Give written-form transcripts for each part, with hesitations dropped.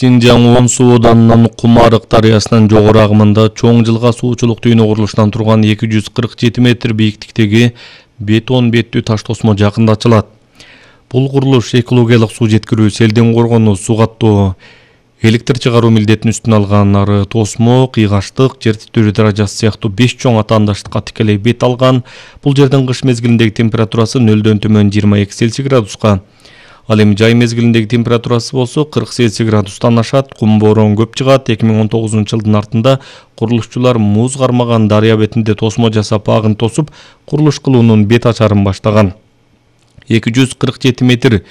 Синжаң Оң суу оданынан Кумарык дарыясынын жогору агымында чоң жылга суучулук түйүнү курулушунан турган 247 метр бийиктиктеги бетон беттүү таш тосмо жакында ачылат. Бул курулуш экологиялык суу жеткирүү, селден коргонуу, суу каттоо, электр чыгаруу милдетин үстүнө алган. Ары тосмо, кыйгаштык, жер титирөө даражасы сыяктуу 5 чоң атаандаштыкка тикелей бет алган. Бул жердин кыш мезгилиндеги температурасы 0дөн төмөн 22 Цельсий градуска. Ал эми жай мезгилиндеги температурасы болсо 40 Цельсий градустан ашат. Кум боорон көп чыгат. 2019-жылдын артында курулушчулар муз кармаган дарыя бетинде тосмо жасап, агын тосуп, курулуш кылуунун бет ачарын баштаган. 247 метр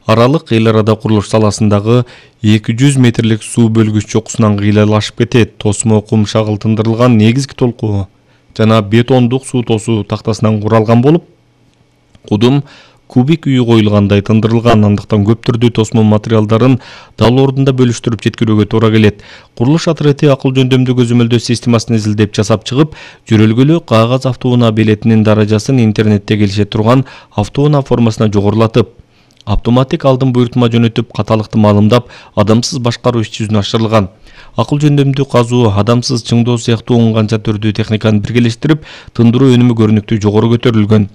аралык эл арада курулуш саласындагы 200 метрлик суу бөлгүч чокусунан кыйлалашып кетет. Тосмо кум шагылтындырылган негизги толкуу жана бетондук суу тосуу тактасынан куралган болуп, кудум кубик үйү коюлгандай тындырылган. Андыктан көп түрдүү тосмо материалдарын дал ордунда бөлүштүрүп жеткирүүгө туура келет. Курулуш отряды акыл жөндөмдүү көзөмөлдөө системасын изилдеп жасап чыгып, жөрөлгөлүү кагаз автоунаа билетинин даражасын интернетте келише турган автоунаа формасына жогорулатып, автоматик алдын буйртма жөнөтүп, каталыкты маалымдап, адамсыз башкаруу иш-жүзүнө ашырылган. Акыл жөндөмдүү казуу, адамсыз чыңдоо сыяктуу 10 канча түрдүү техниканы биргелештирип, тындыруу өнүмү көрүнүктүү жогору көтөрүлгөн.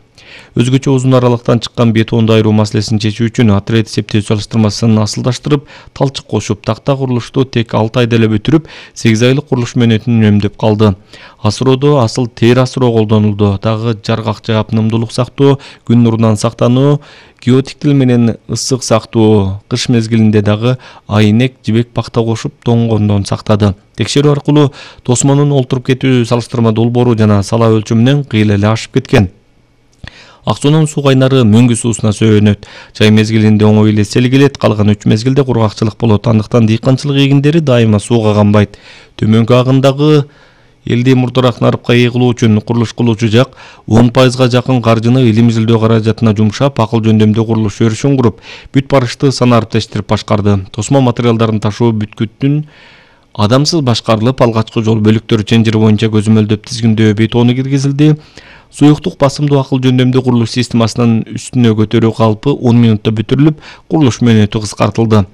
Өзгөчө узун аралыктан чыккан бетонду айыруу маселесин чечүү үчүн отряд эсептөө салыштырмасын асылдаштырып, талчык кошуп, такта курулушту тек 6 айда эле бүтүрүп, 8 айлык курулуш мөөнөтүн үнөмдөп калды. Асыроодо асыл тер асыроо колдонулду. Дагы жаргак жаап, нымдуулук сактоо, күн нурунан сактануу, геотиктил менен ысык сактоо, кыш мезгилинде дагы айнек, жибек пакта кошуп, тоңгондон сактады. Текшерүү аркылуу тосмонун олтуруп кетүү салыштырма долбоору жана сала өлчөмүнөн кыйла эле ашып кеткен. Ак суунун суу кайнары мөңгү суусуна сөөнөт. Жай мезгилинде оңой эле сел келет, калган 3 мезгилде кургакчылык болот. Андыктан дыйканчылык эгиндери дайыма сууга канбайт. Төмөнкү агындагы элди мурдараак нарыпка ээ кылуу үчүн курулуш кылуучу жак 10% жакын каржыны илим изилдөө каражатына жумшап, акыл жөндөмдүү курулуш өрүшүн куруп, бүт барышты санарип тештирип башкарды. Тосмо материалдарын ташуу бүткүттүн адамсыз башкарылып, алгачкы жол бөлүктөрү ченжери боюнча көзөмөлдөп тизгиндөө бетону киргизилди. Суюктук басымдуу акыл жөндөмдүү курулуш системасынын үстүнө көтөрүү калпы 10 минутта бүтүрүлүп, курулуш мөөнөтү кыскартылды.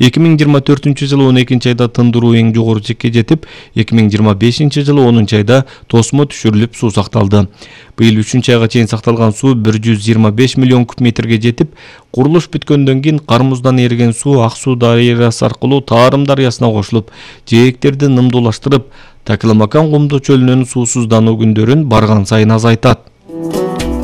2024-жылы 12 айда тындыруу эң жогору чекке жетип, 2025-жылы 10 айда тосмо түшүрүлүп, суу сакталды. Быйыл 3 айга чейин сакталган суу 125 миллион куб метрге жетип, курулуш бүткөндөн кийин Кармуздан эриген суу Ак суу дарыясы аркылуу Таарым дарыясына кошулуп, жээктерди нымдуулаштырып, Такылмакан кумдуу чөлүнүн суусуздануу күндөрүн барган сайын азайтат.